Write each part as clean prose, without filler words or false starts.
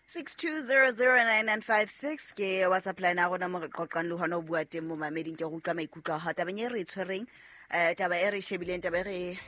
62009956 ke WhatsApp line ya rona mo re qoqang le hona ho bua teng mo mameding. Ke go utlwa maikutlo a hao tabeng e re e tshwereng, taba e re e shebileng, taba e re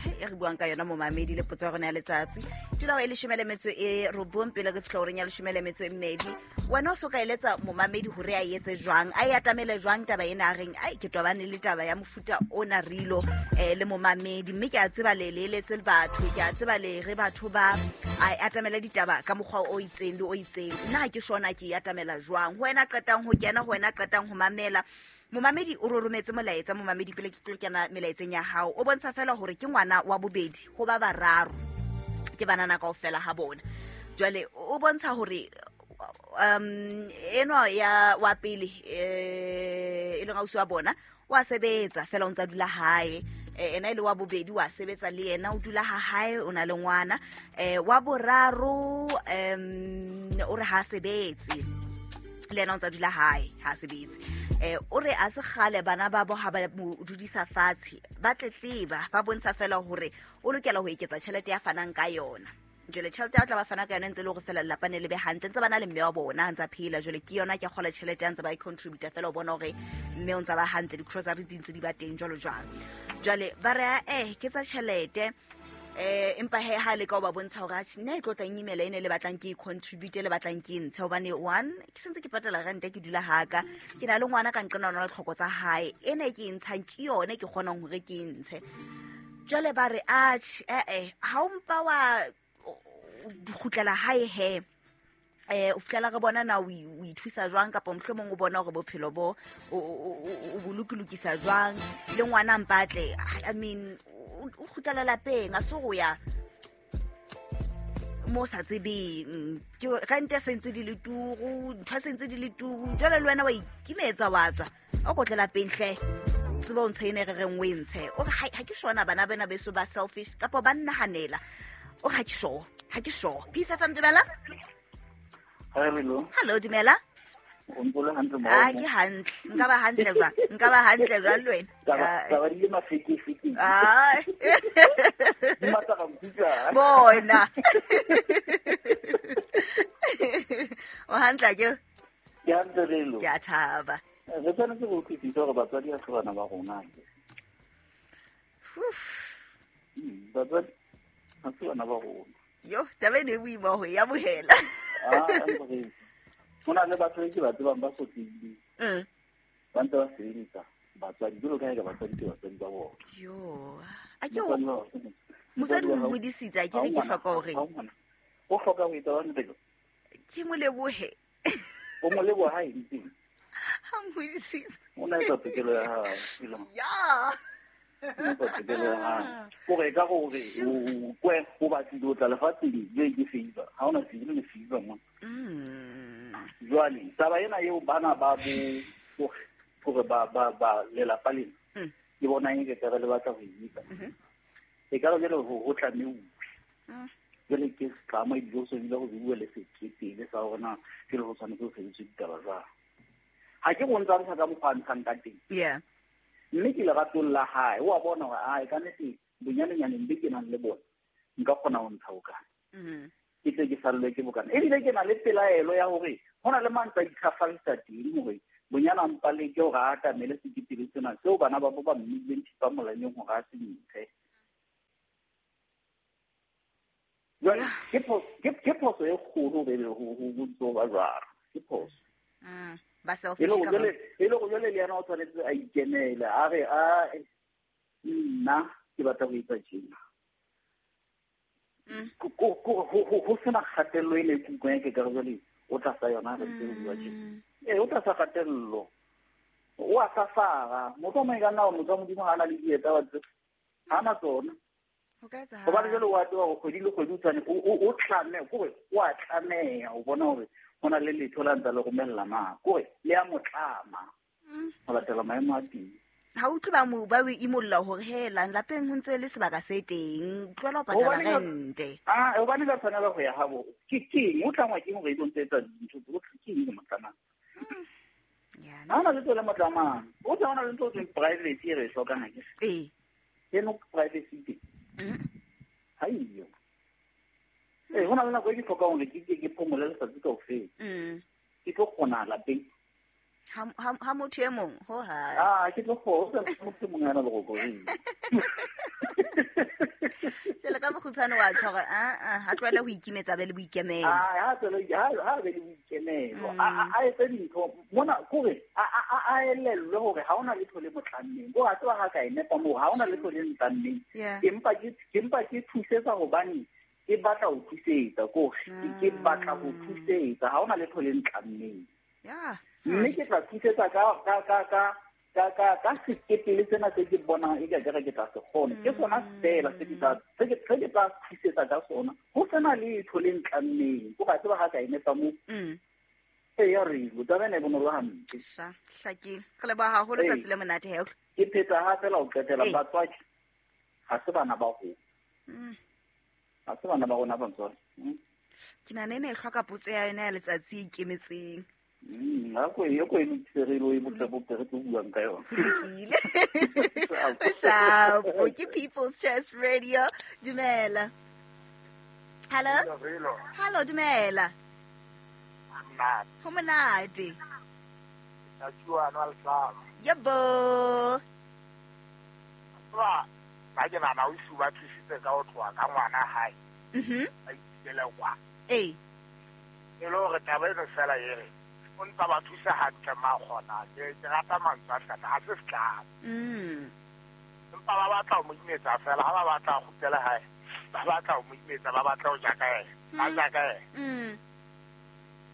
e re buang ka yona mo mamedi, le potso ya rona ya letsatsi. Tula e 19 pele re fihla horeng ya 12. Wena o so ka eletsa momamedi hore a etse jwang, a e atamele jwang taba ena, a reng ai ke tobane le taba ya mofuta ona rilo le momamedi, mme ke a tseba le le eletse batho, ke a tseba le re batho ba a atamele ditaba ka mokgwa o itseng le o itseng. Nna ha ke shona ke e atamela jwang? Ho wena qetang ho kena, ho wena qetang ho mamela, momamedi o rorometse molaetsa. Momamedi, pele ke tlo kena melaetseng ya hao, o bontsha fela hore ke ngwana wa bobedi ho ba bararo, ke banana kaofela ha bona. Jwale o bontsha hore enwa ya wa pele, e leng ausi wa bona, wa sebetsa fela o ntsa dula hae. Ena e le wa bobedi wa sebetsa le yena, o dula ha hae, o na le ngwana. Wa boraro o re ha sebetse le yena, o ntsa dula hae, ha sebetse. O re a se kgale bana ba bo ha ba mo dudisa fatshe, ba tletleba, ba bontsha fela hore o lokela ho eketsa tjhelete ya fanang ka yona. Jwale tjhelete ya tla ba fana ka yona ntse e le hore fela lelapa ne le be hantle, ntse ba na le mme wa bona a ntsa phela. Jwale ke yona ke kgola tjhelete ya ntse ba e contributa fela ho bona hore mme o ntsa ba hantle, di-grocery di ntse di ba teng, jwalo jwalo. Jwale ba re ke tsa tjhelete, empa he ha le ka o ba bontsha hore atjhe, nna e tlo tlang imela ene le batlang ke e contribute, le batlang ke e ntshe, hobane one ke sentse ke patala rente, ke dula haka, ke na le ngwana ka nqena, ona le tlhoko tsa hae, ena e ke e ntshang ke yone ke kgonang hore ke e ntshe. Jwale ba re atjhe, ha o mpa wa kgutlela hae he, o fihlela re bona na o ithusa jwang, kapa mohlomong o bona hore bophelo bo o bolokilokisa jwang le ngwana mpatle. I mean, o kgutlela lapeng, a se go ya mo sa tsebeng, ke rente sentse di le turu, ntho sentse di le turu. Jwale le wena wa ikimetsa, wa tswa o kotle lapeng hle, tseba o ntshe ene re reng o e ntshe. O re ha ke shona bana bena beso ba selfish kapa ba nnahanela. O re ha ke sure, ha ke sure. Peace FM, dumela. Hello. Hello, dumela. O ntse o le hantle mo? Ah, ke hantle. Nka ba hantle jwang? Nka ba hantle jwang le wena? Taba di le mafekefeke. Ah. Di matla ga nkutlwa. Bona. O hantle ke? Ke hantle lelo. Ke a thaba. Re tshwanetse go utlwisisa hore batswadi ha se bana ba rona. Uf. Batswadi ha se bana ba rona. Yo, taba ene e boima ho e amohela. Ah, ho na le batho ke ba tsebang ba sotlehileng. Ba ntse ba sebeletsa batswadi, jwalo ka ha eka batswadi ke batswadi ba bona. Yo, a ke o motswadi o nhodisitse, a ke re ke hloka hore o hloka ho etsa jwang pele? Ke mo lebohe. O mo leboha ha eng? Ha nhodisitse. O na etsa tokelo ya hao, pelo. Ya. O etsa tokelo ya hao. Kore ka hore o kwe o batlile o tla lefatsheng le ke favor. Ha ona se le favor mo. Jwale taba ena eo bana ba bo hore ba ba ba lelapa lena. Ke bona eng ke taba le batla ho e etsa. E ka jwale ho tlameuwe. Jwale ke tlama ebile o sobile go bua le sekete sa hore na ke le ho tshwanetse ho sebediswe ditaba jwang. Ha ke go ntsa ntsha ka mokgwa a ntshang ka teng. Mme ke leratong la hae, o a bona hore ae ka nnete bonyanenyane be ke nang le bona nka kgona ho ntsha bokana. Ke tle ke sallwe ke bokana. Ebile ke na le pelaelo ya hore ho na le mang tsa itlhafalisa teng hore bonyana mpa le ke hore a atamele sekepele sena seo bana ba bo ba mmileng thipa molaleng hore a se ntshe. Jwale, ke phoso e kgolo be ho ntso ba jwalo. Ke phoso. Ba selfish E le ka ba. le go jwale le yena o tshwanetse a ikemele, a re, a, nna ke batla ho etsa tjena. Ho sena kgatello e le kutlwang ke ka re jwale o tlasa yona re ntse re bua tjena. Ee, o tlasa kgatello. O a safara. Motho o mong e ka nna wa motho wa Modimo ha a na le dieta wa tseba. Ha a na tsona. Ho ka etsahala. Hobane jwale o a tseba hore kgwedi le kgwedi o tshwane, o tlame, kore o a tlameha ho bona hore ho na le letho la ntsa le romella na. Kore le a mo tlama ho latela maemo a teng. Ha utlwe ba mo ba o imolla hore he lang lapeng ho ntse le sebaka se teng, tlohela ho patala Hobane ka rente. Ah, hobane ka tshwanela ho ya habo. Ke keng? O tlangwa ke hore e tlo ntse etsa dintho tse, o tla ke eng mo tlamang? Ya, Ha hona letho le mo tlamang. O tla hona le ntho tse private e re e hlokang ha ke re. Ee. Eno privacy teng. Ha eyo. Ee, ho na le nako e ke hlokang hore ke ke phomole letsatsi kaofela. Ke tlo kgona lapeng. Ha motho e mong ho ha. Ah, ke tlo kgona motho e mong a na le rokoreng. Jwale ka bokgutshwane wa tjho hore ha tlohele ho ikimetsa be le boikemelo. Ah, ha tlohele ha be le boikemelo. A etse dintho mona kore a elellwe hore ha hona letho le motlammeng. Bo a tseba ha ka e nepa moo ha hona letho le ntlammeng. Empa ke thusetsa hobane ke batla ho thusetsa kore ke batla ho thusetsa ha hona letho le ntlammeng. Mme ke tla thusetsa ka sekepele sena se ke bonang e ka ke tla se kgona. Ke sona fela se ke tla thusetsa ka sona. Ho sena letho le ntlammeng. Ko ka tseba ha ka e nepa moo. Ee, ya re taba ena e bonolo hampe. Hlakile. Re leboha haholo tsatsi le monate he. Ke phetha hape la ho qetela batswadi. Ha se bana ba rona. Ha se bana ba rona batswadi. Ke nahana ena e hloka potso ya yona ya letsatsi e ikemetseng. Nako e ko e lokise re lo e botle re tlo buang ka yona. Lokile. Shapo ke People's Choice Radio. Dumela. Hello. Hello, dumela. Ho monate. Yebo. Ba ke nana o suba thusitse ka ho tloha ka ngwana hae. A itele kwa. Ee. E le hore taba eno fela e re o ntsa ba thusa hantle ma kgona ke rata mantswe a hlata ha se setlamo. Empa ba batla ho mo imetsa fela ha ba batla ho kgutlela hae ba batla ho mo imetsa ba batla ho ja ka ena ba ja ka ena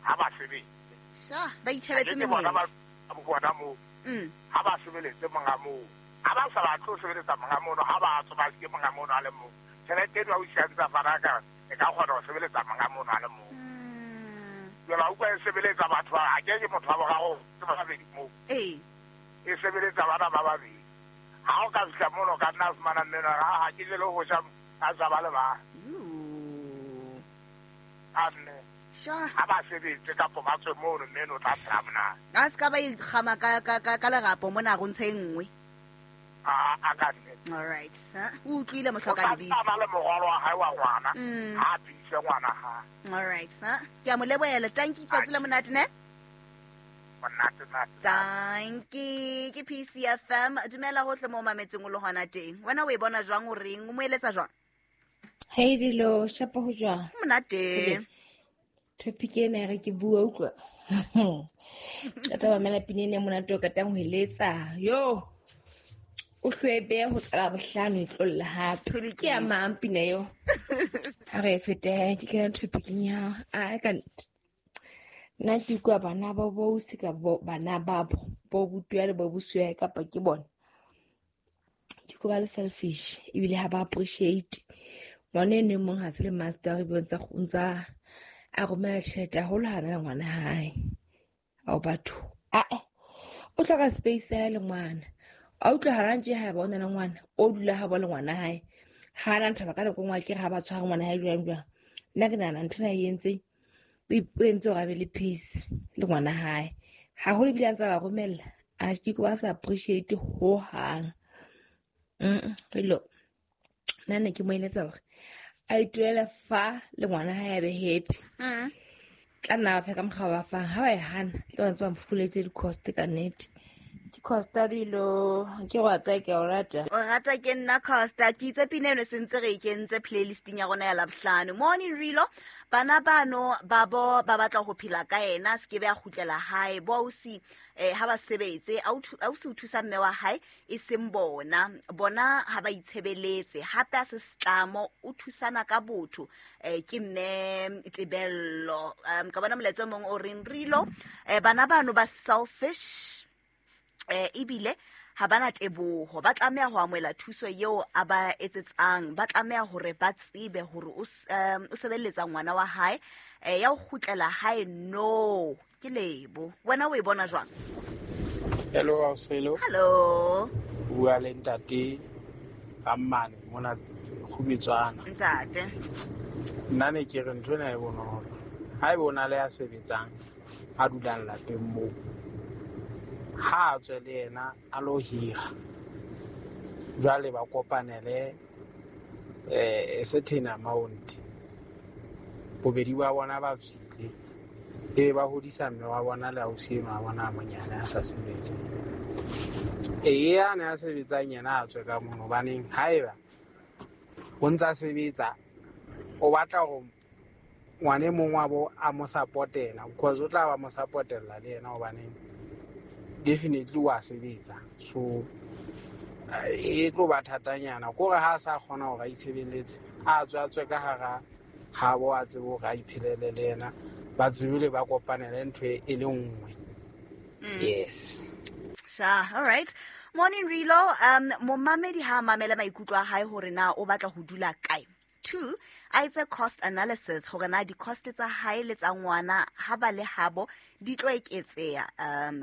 ha ba sebetse ba itjhebetse menyetla ba bona moo ha ba sebeletse monga moo ha ba sa batle ho sebeletsa monga mono ha ba tswa ba ke monga mono a le mong tjhelete eno a o siantsa fana ka e ka kgona ho sebeletsa monga mono a le mong. Jwale ha utlwa e sebeletsa batho ba ke motho wa boraro ke ba babedi moo. Ee. E sebeletsa bana ba babedi. Ha o ka fihla mono ka nna fumana mmeno ha ke jele ho ja a ja ba le ba. Amme. Ha ba sebetse kapo ba tswe mono mmeno o tla phela monate. A se ka ba ikgama ka lerapo mona go ntshe nngwe. A ka nne. All right. O utlwile mohloka lebitso. O tla ba le morwalo wa hae wa ngwana. Ha phise ngwana ha. All right. Ke a mo lebohela. Tanki tsatsi le monate ne? Monate. Tanki ke PCFM. Dumela hohle mo mametseng o le hona teng. Wena o e bona jwang o reng? O mo eletsa jwang? Hey dilo, shapa ho jwang? Monate. Topic ena re ke bua utlwa. Qeta ba mela pina ena monate o katang ho eletsa. Yo. O hlwebe ho tsala bohlano e tlolla hape. Ke ya mang pina eo? Ha re fete ke kena topicing ya a ka nna ke kwa bana ba bo sika bana ba bo butwa le bo buswa kapa ke bona. Ke ko ba le selfish ebile ha ba appreciate. Ngwana ene mong ha se le master re bontsa ntsa a romela tjhelete haholo ha na le ngwana hae. Ao batho. O hloka space ya le ngwana. A utlwa ha rantje ha ba ona le ngwana o dula ha ba le ngwana hae ha na ntaba ka nako ngwa ke ha ba tshwara ngwana hae jwang jwang nna ke nahana ntho ena e entse o entse hore a be le peace le ngwana hae haholo ebile a ntsa ba romella a ke ba sa appreciate ho hang. Relo nna ne ke mo eletsa hore a ituele fa le ngwana hae a be happy. Tla nna ba fa ka mokgwa ba fang ha ba e hana tla ba ntse ba mfokoletse di-cost ka nnete. Ke Costa dilo ke go tsa ke o rata. O rata ke nna Costa ke itse pina eno sentse re kentse playlisting ya rona ya Labohlano. Morning Rilo bana bano ba bo ba batla ho phela ka ena se ke be a kgutlela hae bo ausi ha ba sebetse ausi o thusa mme wa hae e seng bona bona ha ba itshebeletse hape a se setlamo o thusana ka botho ke mme Tebello. Ka bona molaetsa mong o reng Rilo bana bano ba selfish ebile ha bana teboho ba tlameha ho amohela thuso eo a ba etsetsang ba tlameha hore ba tsebe hore o sebeletsa ngwana wa hae ya ho kgutlela hae no ke lebo. Wena o e bona jwang? Hello Ausi. Hello. Bua le ntate Rammane mona Kgubetswana. Ntate. Nna ne ke re ntho ena e bonolo. Ha ebe o na le ya sebetsang a dulang lapeng moo ha tswe le yena a lo hira jwale ba kopanele a certain amount Bobedi ba bona ba tswile. E ba hodisa mme wa bona le ausi enwa wa bona a monyane a sa sebetse. E yane a sebetsang yena a tswe ka mono, hobaneng haeba o ntsa sebetsa o batla hore ngwana e mong wa bo a mo support-ela, because o tla ba mo support-ella le yena, hobaneng definitely wa sebetsa. So e tlo ba thatanyana kore ha a sa kgona hore a itshebeletse, a tswe ka hara habo, a tsebe hore a iphelele le yena, ba tsebile ba kopanele ntho e le nngwe. Yes. Sha, all right. Morning Rilo, momamedi ha mamela maikutlo a hae hore na o batla ho dula kae. 2, a etse cost analysis hore na di-cost tsa hae le tsa ngwana ha ba le habo di tlo eketseha,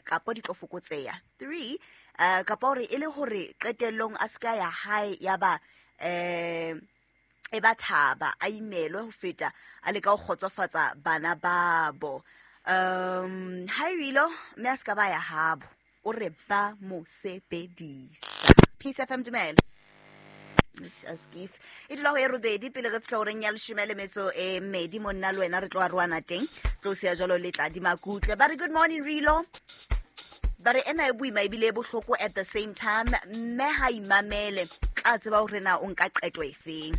kapo di tlo fokotseha. 3, kapo hore e le hore qetellong a ska ya hae ya ba e ba thaba a imelwe ho feta a leka ho kgotsofatsa bana babo. Hi Rilo, mme a ska ba ya habo, o re ba mo sebedisa. Peace FM, dumela. Askis. E dula ho e robedi pele re fihla horeng ya 12 monna le wena re tlo arohana teng. Tlo siya jwalo le tla di makutle. Ba re good morning Rilo. Ba re ena e boima ebile e bohloko at the same time, mme ha imamele tla tseba hore na o nka qeto efeng.